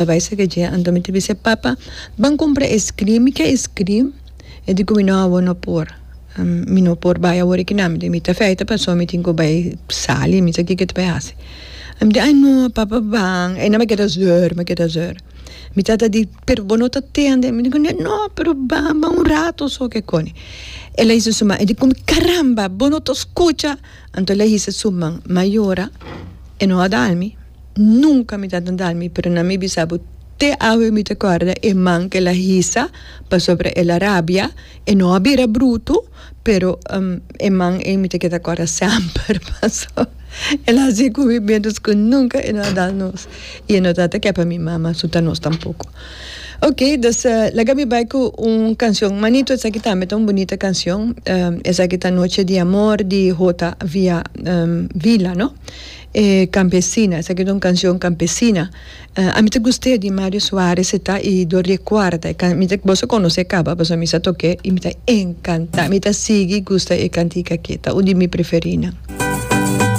Bai saka dje, anto mi ta bisa e papa, ban kumpra eskrim, mi ke eskrim. E di ku mi, no awor no por, mi no por bai awor aki nan, mi ta feita pasobra mi tin ku bai sali, mi sa kiko ta bai hasi. Mi di, ai no papa ban, e nan a keda zeur, mi a keda zeur. Mi tata di, pero bo no ta tende, mi di ku no, pero ban, ban un rato so ke koni. El a hisa su man, e di ku mi, caramba, bo no ta skucha. Anto el a hisa su man, mi a yora, e no a dal mi. Nunca mi tata dal mi, pero na mi bisa bo te awe mi ta corda e man cu el a hisa pasobra el a rabia, e no a bira bruto, pero e man ey mi ta keda corda semper pasobra el a haci cu mi mientras cu nunca e no a dal nos y e no tata ke pa mi mama suta nos tampoco. Ok, dus laga mi bay cu un cancion manito, esaki tambe ta un bunita cancion, esaki ta Noche di Amor di Jota Villa Villa no. E campesina, esaki ta un cancion campesina. Ami ta gust'é di Mario Suarez e ta y dor di e cuarta e can mi ta boso conoce caba pasobra mi sa toke y mi ta encanta mi ta sigui gusta e cantica aki ta un di mi preferinan.